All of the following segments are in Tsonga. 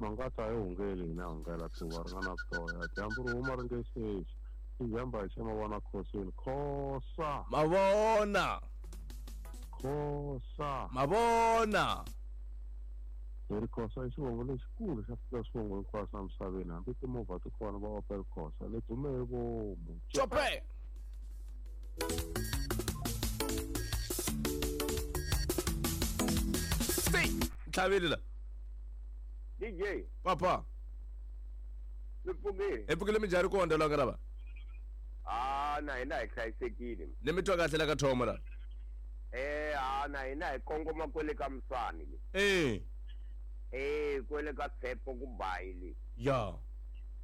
Mangata a yi hungeli hina hungela tuva ri nga na toya. Dyambu ri huma ri nge xexi. Xijamba hi xa mavona khoseni. Khosa! Mavona! Khosa! Mavona! Hi ri Khosa i xivongo lexikulu xa tlula swivongo hinkwaswo emisaveni hambi timovha ti kona va Opel Khosa le dume hi vomu. Cope! Ntlhaveli la. DJ. Papa. Mi pfukile. Hi pfukile minjhani konde la nga lava? Ah, na hina hi hlayisekile. Ni mi twa kahle la ka Thomo la. Eh, ah, na hina hi kongoma kwele ka Mswani le. Eh. Eh, kwele ka Tshepo ku bayi le. Ya.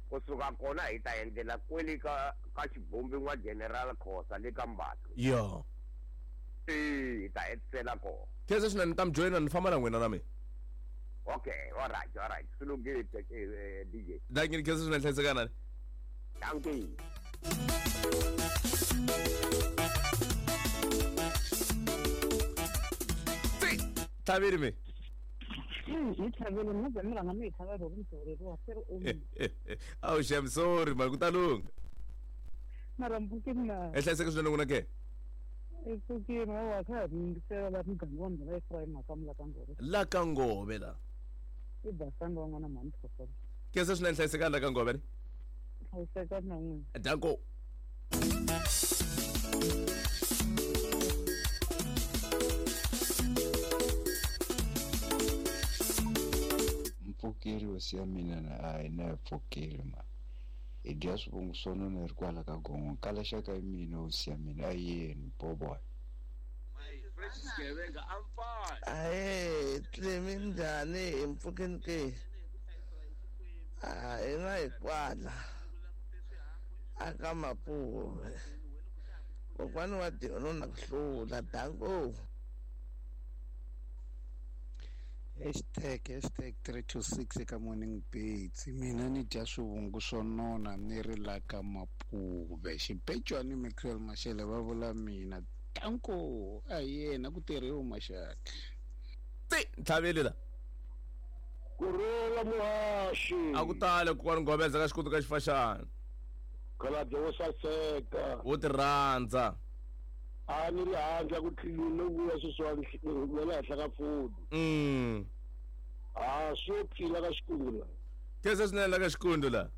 Kusuka kona hi ta endlela kwele ka ka Xibombi n'wa General Khosa le ka Mbatlo. Ya. Eh, hi ta hetisela kona. Khensa swinene ni ta mi joyina ni famba na n'wina na mina. Okay, all right, all right. Swi lunghile DJ. Dankie, khensa swinene hlayisekana. Dankie. Tlhaveli mi. Ni tlhavele mi ze mi rhanga mi hi tlhava rho ri se ri omile. Awu xem sorry mani ku ta lungha. Mara mpfukini na. E hlayiseke swinene n'wina ke. I pfukini wa kha hi yingisela la muganga wa mina Ephraim Makamu la ka Ngove. La ka Ngove la. I basani wa n'wana mhani Thokoza. Khensa swinene hlayisekani la ka Ngove ni. Hlayiseka na n'wina. Danko. Mpfukeri hosi ya mina na a hi na hi pfukeri ma hi dya swivongo swa nona hi ri kwala ka gongo kala xaka hi mina hosi ya mina a yeni boboy. Ahee, Clemi njhani hi mpfukeni ke? A hina hi kwala aka Mapuve. Kokwani wa Dion na ku hlula danko. Hashtag hashtag 326 eka Morning Beats. Mina ni dya swivungu swo nona ni ri la ka Mapuve. Xibejwani Maxwell Mashele va vula mina. Danko a yena ku tirhiwa maxaka. Ti ntlhaveli la. Kurhula muhaxi. A ku tale kokwani Ngobeza ka xikutu ka xifaxana. Khalabye wo saseka. Wo ti rhandza. A ni ri handle ku tlilini no vuya sweswiwani na le henhla ka foni. A swi yo pfila ka xikundu la. Khensa swinene la ka xikundu la.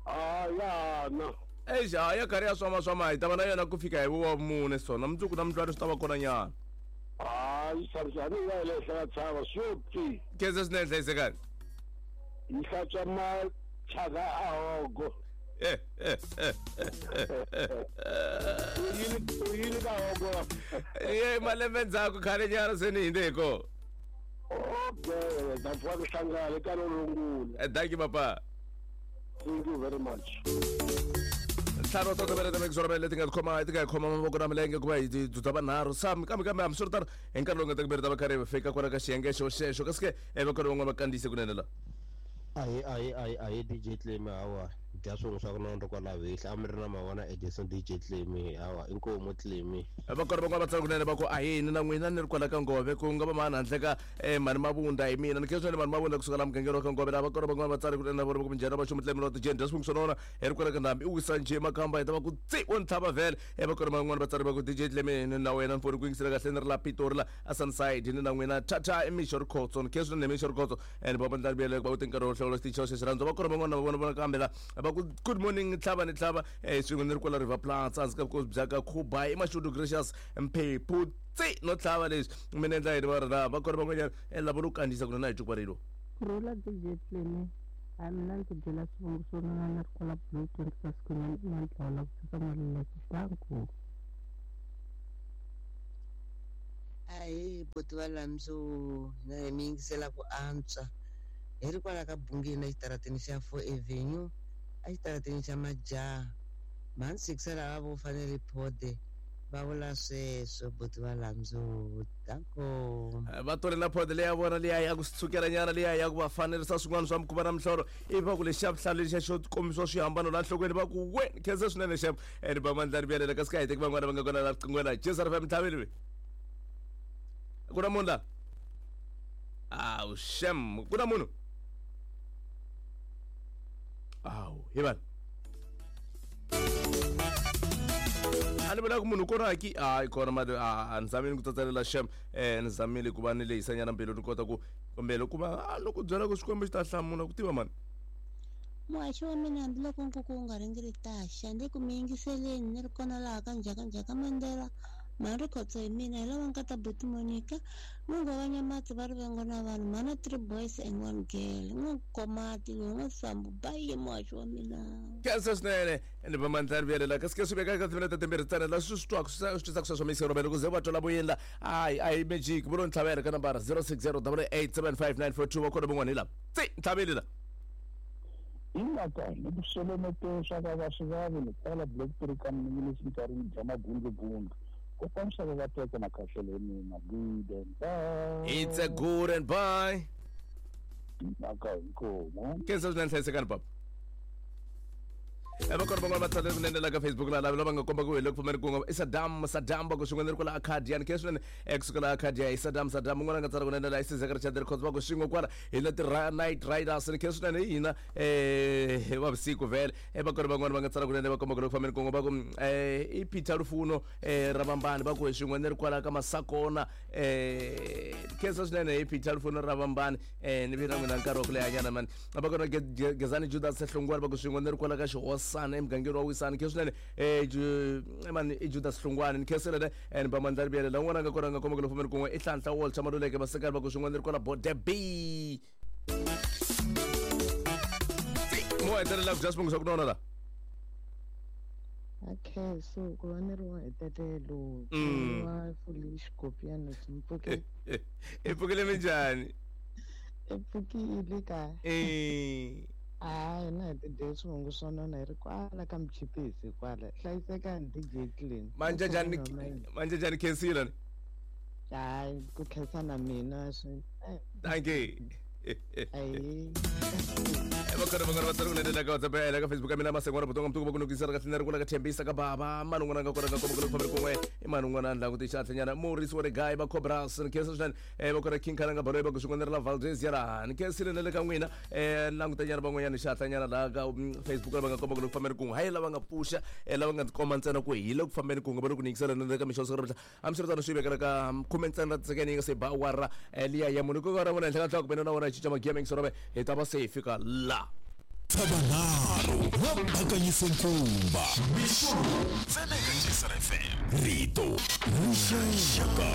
A ya hana. Eish, a ya karhi ya swama swama hi ta va na yona ku fika hi vo wa vumune so na mundzuku na mundlwani swi ta va kona nyana. A yi tshamisa a ni ya hi le henhla ka tshava swi yo pfi. Khensa swinene hlayisekani. Yi hlantswa mathyaka a hogo. U yini ka hogo? Ye malembe ndzhaku khale nyana se ni hinde hi kona. Okay, ta pfuka ku hlangana eka ro rungula. Thank you papa. Thank you very much. Ntlhanu wa totovela ta mixo leti nga khoma ti nga hi khoma mavoko na milenge ku va hi dzudza vanharhu sam kambe kambe hambiswiritano hi nkarhi lowu nga ta ku ta va karhi hi fika kwala ka xiyenge xo xexo kasi ke va karhi van'wana va kandziyise kunene la. Ahi ahi ahi ahi DJ Clemi hawa dya swin'we swa ku nondzo kwala vehla a mi ri na mavona Edison DJ Clemi hawa inkomu Clemi. Va karhi van'wana va tsala kunene va ku ahini na n'wina ni ri kwala ka Ngove ku nga va mani handle ka mhani Mavunda hi mina ni khensa swinene mhani Mavunda kusuka laha mugangeni wa ka Ngove laha va karhi van'wana va tsala kunene na vona va ku minjhani va xumu Clemi Loti Jane dya swin'we swa nona hi ri kwala ka ndhambi i wisa njhe makamba hi ta va ku tsi wo ni tlhava vhele va karhi van'wana va tsala va ku DJ Clemi ni na wena ni foni ku yingisela kahle ni ri la Pitori la a Sunnyside ni na n'wina tata i Mixo Rikhotso ni khensa swinene Mixo Rikhotso and va ndla vuyelo va ku nkarhi wo hlawula xitichi xa xirhandzu va kona van'wana va vona vona kambe la va ku good morning tlhava ni tlhava swin'we ni ri kwala River Plants hansi ka vukosi bya ka Khubai i Mashudu Gracious Mphephu tsi no tlhava leswi mi ni endla yini va ri la va kona van'wanyana lava lo kandziyisa kunene a hi cuparilo. Kurhula DJ Clemi a mina ndzi byela swivongo swo nona ni ri kwala Blue 20 ka Sikhunyana i Mantlawa la ku tsaka Maluleke danko. Ahee buti va Lamzo hina hi mi yingisela ku antswa hi ri kwala ka Bungeni exitarateni xa 4 Avenue exitarateni xa Majaha mhani sikisa lava vo fanele phode va vula sweswo buti va Lamzo danko. Va tole na phode leya vona liya ya ku swi nyana liya ya ku va fanerisa swin'wana swa mikhuva na mihlolo ivi va ku lexiya vuhlalu lexiya xo kombisiwa swihambano laha nhlokweni va ku we khensa swinene xem and va mandla rivuyelela kasi ka hi teki van'wana va nga kona la riqingweni la Jesu ri fa mintlhaveni ku na munhu la awu xem ku na munhu. Awu hi vanhu a ni vula ku munhu kona ki a kona mali a ni zamile ku tsatsalela xem ni zamile ku va ni lehisanyana mbilu ni kota ku kumbe loko va loko byela ku Xikwembu xi ta hlamula ku tiva mani. Muhaxi wa mina hambiloko nkuku wu nga ringiri taxa ndzi ku mi yingiseleni ni ri kona laha ka njhakanjhaka Mandela mhani Rikhotso hi mina hi lava nkata buti Monica n'wingo va Nyamatsi va rivengo na vanhu mhana 3 boys and 1 girl n'wi-Komati loyi n'wa-Sambu bayi muhaxi wa mina. Khensa swinene ni va mandla ri vuyelela kasi ke swi veka eka timinete timbirhi ntsena la swi swi twaka swi twisaka sweswo mixero loko ze va twela vuyeni la hayi a hi magic vo lo ntlhavela ka nambara 060 8875942 va kona van'wana hi lava tsi ntlhaveli la. Hi mhaka ni ku swelemete swa vava swivavi ni kwala block 3 ka minisi minkarhi ni dya magundlugundlu kokwani swa vava teka na kahlelo hi mina good and bye. It's a good and bye. Mhaka inkomo. Khensa swinene hlayisekani papa. Va kona van'wana va tsale kunene la ka Facebook la lava nga komba ku hi le ku pfumeni kun'we i Saddam Saddam va ku swin'we ni ri kwala Acadia ni khe swinene kusuka la Acadia i Saddam Saddam un'wana a nga tsala kunene la i Sizeka Richard Records va ku swin'we kwala hi na ti Night Riders ni khe swinene hi hina va vusiku vhele va kona van'wana va nga tsala kunene va komba ku le ku fambeni kun'we va ku i Peter Lufuno Ravambani va ku hi swin'we ni ri kwala ka Masakona khensa swinene hi Peter Lufuno Ravambani ni vi na n'wina nkarhi wa ku lehanyana mani va kona Gezani Judas Hlongwane va ku swin'we ni ri kwala ka Xihosana emugangeni wa Wisani khe swinene mani i Judas Hlongwane ni khenselele ni ba mandla ribyele la un'wana a nga kona nga komba ku fambeni kun'we i Hlanhla Walter Maluleke vasekari va ku swin'we ni ri kwala Bode B mo hetelela ku dya swivongo swa ku nona la. Okay, so ku va ni ri wa hetelelo wa fuli xikopiano mpfuke i pfukile minjhani? I pfukile ka hayi na hi tidye swivongo swa nona hi ri kwala ka Mchipisi kwala hlayisekani DJ Clean manjejani khensile ni hayi ku khensa na mina swi thank you. Ayi va kona van'wana va tsala kunene la ka WhatsApp la ka Facebook ya mina Masengwana Butonga Mtuku va ku nukisela kahle ni ri kula ka Thembisa ka bava mani un'wana a nga kona nga komba ku le ku fambeni kun'we i mani un'wana a ni languti xatlhenyana Maurice wa le gayi va Cobras ni khensa swinene va kona King Khalanga Baloyi va ku swin'wana ri la Valdez ya laha ni khensile na le ka n'wina langutanyana van'wanyana xatlhanyana laha ka Facebook lava nga komba ku le ku fambeni kun'we hayi lava nga pfuxa lava nga komba ntsena ku hi le ku fambeni kun'we va le ku ni yingisela na le ka mixo siku ra namuntlha hambiswiritano swi vekela ka khume ntsena ra tisekene yi nga se ba awara liya ya munhu hikokwalaho ra vona henhla ka nhloko mina na wona hi cinca magiya mingisorobe hi ta va se hi fika la. Tsavanaro va bakanyise nkumba mixo ntsena eka Jesar FM rito rixaka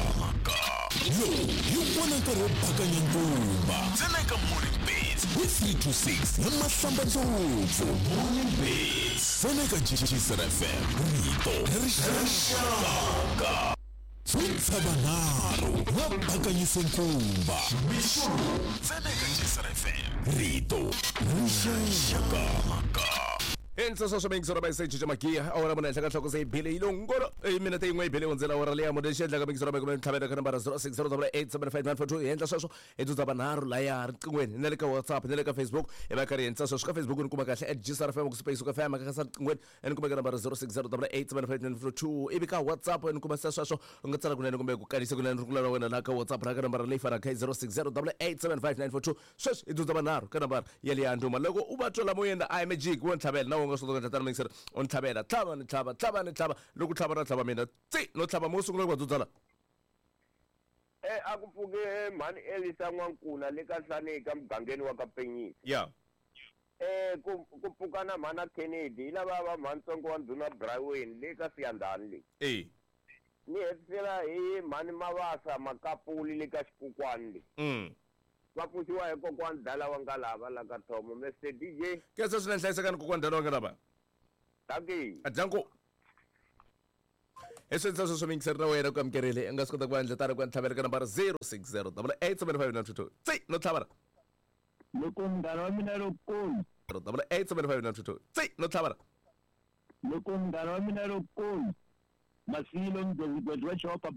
lowu hi wona nkarhi wo bakanya nkumba ntsena eka Morning Beats hi 3 to 6 na Mahlamba Ndlopfu. Morning Beats ntsena eka Jesar FM rito rixaka. Tsavanaro va bakanyise nkumba mixo ntsena eka Jesar FM rito rixaka. Enso swo mingisoro ba se cinca magiya awara mona henhla ka nhloko se yi bile yi lo ngolo i minete yin'we yi bile hundzela awara leya mune xi endlaka mingisoro ba kumbe ntlhavelo ka nambara 0608875942 hi endla sweswo hi dzudza vanharhu laya riqingweni na le ka WhatsApp na le ka Facebook hi va karhi hi endla sweswo ka Facebook ni kuma kahle @gsrfm ku space ka FM ka riqingweni ni kuma ka nambara 0608875942 ivi ka WhatsApp ni kuma sweswo u nga tsala kunene kumbe ku kanisa kunene rungula ra wena laha ka WhatsApp laha ka nambara leyi fanaka hi 0608875942 sweswi hi dzudza vanharhu ka nambara ya le ya ndhuma loko u va twela moyeni a hi magic wo ntlhavela na wonga swi kota mixer u ntlhavela tlhava ni tlhava tlhava ni tlhava loko tlhava na tlhava mina tsi no tlhava mo sungula ku va dzudzala a ku pfuke mhani Elisa N'wankuna le ka Nhlanika mugangeni wa ka Penyisi ya ku pfuka na mhana Kennedy hi lava va mhantsongo wa ndhuna Brian le ka Siyandhani le ni hetisela hi mhani Mavasa Makapuli le ka Xikukwani le va pfuxiwa hi kokwani Dala wa Ngalava la ka Thomo Mr DJ khensa swinene hlayisekani kokwani Dala wa Ngalava. Dankie. Danko. Hi sweswo sweswo mingiseri na wena ku amukerile u nga swi kota ku va endla tano ku ntlhavela ka nambara 0608875922 tsi no tlhavela loko munghana wa mina lonkulu 8875922 tsi no tlhavela loko munghana wa mina lonkulu Masilo Mgwezigwezi wa Chopa